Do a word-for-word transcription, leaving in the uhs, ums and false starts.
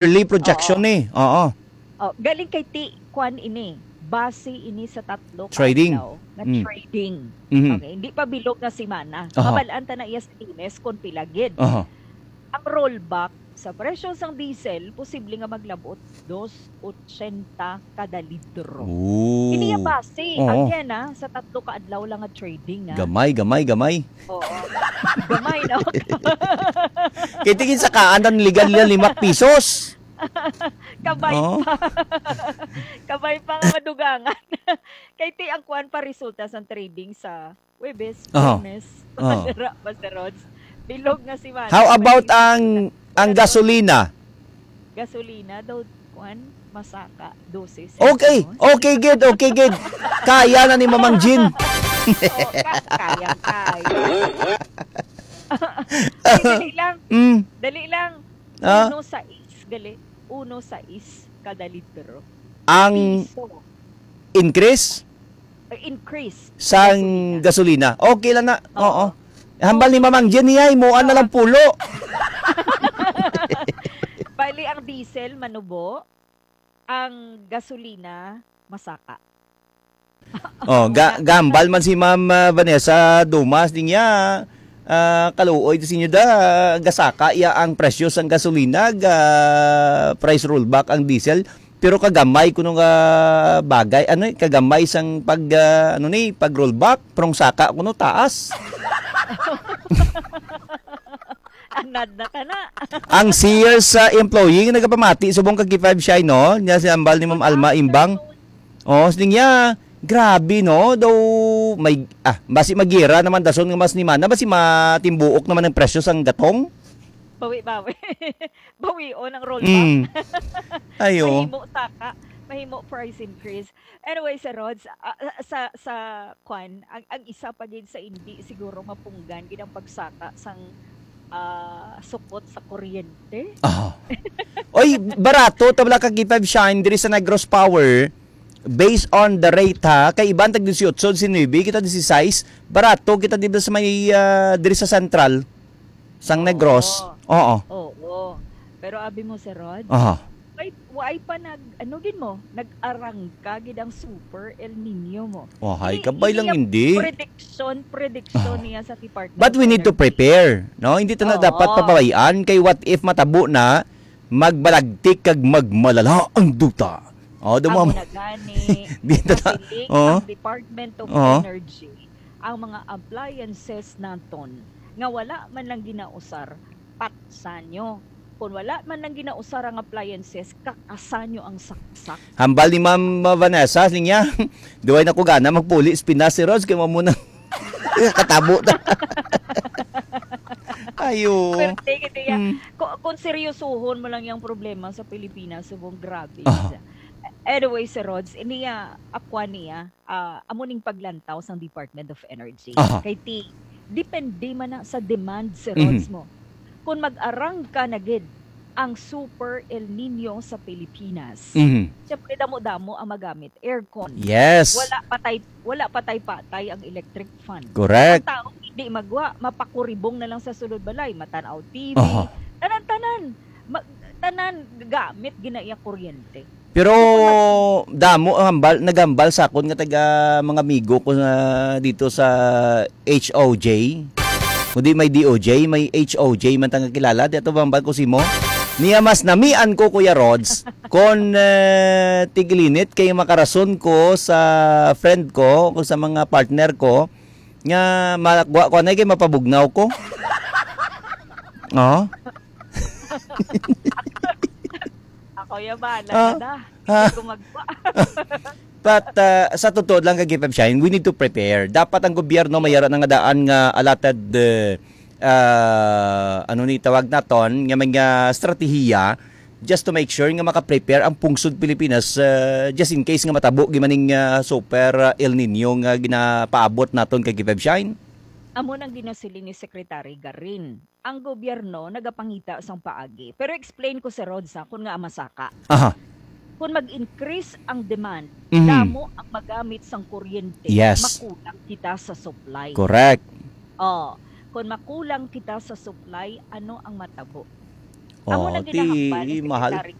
Early projection Oo. ni. Oo. Oh, galing kay ti kwan ini. Base ini sa tatlo ka Trading. adlaw nga Mm. trading. Mhm. Okay, hindi pa bilog nga semana. Aha. Mabal-an ta na iya sa Lunes kung pila gid. Aha. Ang rollback sa presyo sang diesel posible nga maglabot dos ochenta kada litro. Ooh. Ini iya base. Oo. Again, ah, sa tatlo ka adlaw lang nga trading, ah. Gamay, gamay, gamay. Oo. Gamay, no? Kay tingin sa kaan ang legal nila lima pisos. Kabay Oh. pa. Kabay pa nga madugangan. Kay ti ang kuwan pa resulta sa trading sa Webes, Aha. Biyernes. Aha. Dira pa sa roads. Bilog nga si Manny. How about Manny. ang, ang Pero gasolina? Gasolina daw, kuwan, masaka, dose Okay, centavos. okay, gid, okay, gid. Kaya na ni Mamang Jean. Oo, ka-, kaya, kaya. Ay, dali lang. Mm. Dali lang. Ah? Uno sais, gali. Uno sais kada litro. Ang Piso. increase? Eh, increase sa Sang gasolina. gasolina. Okay lang na. Oo. Oo. Hambal ni Mamang Jenny ay, muan na lang Oo. pulo. Bali, ang diesel, manubo. Ang gasolina, masaka. Oh, ga-, Wala. gambal man si Ma'am, ah, Vanessa Dumas, din niya, ah, kaluoy, di sinyo da, gasaka iya ang presyo sang gasolina, ga price rollback ang diesel. Pero kagamay kuno nga bagay, ano, eh, kagamay sang pag, ah, ano ni, pag rollback, prong saka kuno taas. Anad na ka na. Ang Sears, ah, employee nga nagapamati subong kag K five Shine, no? Niya si ambal ni Ma'am Alma Imbang. Oh, siling niya, grabe, no? Daw may, ah, basi magira naman dason nga mas ni mana, basi matimbuok naman ang presyo sang gatong. Bawi-bawi. Bawion ang rollback. Mm. Ayo. Mahimo saka, mahimo price increase. Anyway, Sir Rods, ah, ah, sa, sa, kwan, ang, ang isa pa gid sa hindi siguro mapunggan gid ang pagsaka sang, ah, sukot sa kuryente. Aha. Oy, barato, tabla ka K five Shine diri sa Negros Power, based on the rate, ha, kay iban tag dieciocho, diecinuebe, kita dieciséis, barato kita dito sa may, ah, diri sa Central, sang Oo. Negros. Oo. Oo. Pero abi mo, Sir Rod, Aha. why, why pa nag, ano gid mo, nag-arangka gid ang super El Nino mo? Wahay, Ini, kabay ini lang ang hindi. prediction, prediction Aha. niya sa Department But we need to of Energy. prepare, no? Hindi ta na Oo. dapat pababayaan kay what if matabo na, magbalagtik kag magmalala ang duta. Oh, Amo dumam-, na gani, di ta ta-, masiling oh. ang Department of Oh. Energy, ang mga appliances naton nga wala man lang ginausar, patsanyo. Kung wala man lang ginausar ang appliances, kakasanyo ang saksak. Hambal ni Ma'am Vanessa, siling niya, "Duway na ko gana magpuli sa Pinas, si Rods, kay mao mo na katabo ta." Ayo. Pero take it, iya. Hmm. Ku-, kung seryosohon mo lang yung problema sa Pilipinas, subong grabe. Aha. Anyway, Sir Rods, niya, akwa niya, ah, amo ning paglantaw sang Department of Energy. Aha. Kay ti, depende man na sa demand, Sir Mhm. Rods, mo. Kung mag-arangka na gid ang Super El Nino sa Pilipinas, Mhm. syempre, damo-damo ang magamit aircon. Yes. Wala patay, wala patay-patay ang electric fan. Correct. Ang tao hindi magwa, mapakuribong na lang sa sulod balay, matanaw T V, Aha. tanan-tanan. Ma-, tanan gamit ginaiya kuryente. Pero damo ang hambal, naghambal sa akon nga taga mga amigo ko na dito sa H O J. Kundi may D O J, may H O J man ta nga kilala. Di ato hambal ko si mo. Niya mas namian ko, Kuya Rods, kon, eh, tigilinit kay makarason ko sa friend ko, o sa mga partner ko, nga magwa ko anay kay mapabugnaw ko. Oh. Ako ya bahala Ah. na da. Ah. Hindi ko magwa. But, uh, sa totoo lang, kag K five Shine, we need to prepare. Dapat ang gobyerno may ara na nga daan nga allotted, uh, uh, ano ni tawag naton, nga mga estratehiya just to make sure nga maka-prepare ang pungsod Pilipinas, uh, just in case nga matabo gimaning, uh, super, uh, El Nino nga ginapaabot naton kag K five Shine. Amo nang ginasiling ni Secretary Garin. Ang gobyerno nagapangita sang paagi. Pero explain ko, Sir Rod, sa kun nga masaka. Aha. Kung mag-increase ang demand, Mhm. damo ang magamit sang kuryente, Yes. makulang kita sa supply. Correct. Oh, kung makulang kita sa supply, ano ang matabo? Amo Oh, na ti, ginahambal ni mahal. Secretary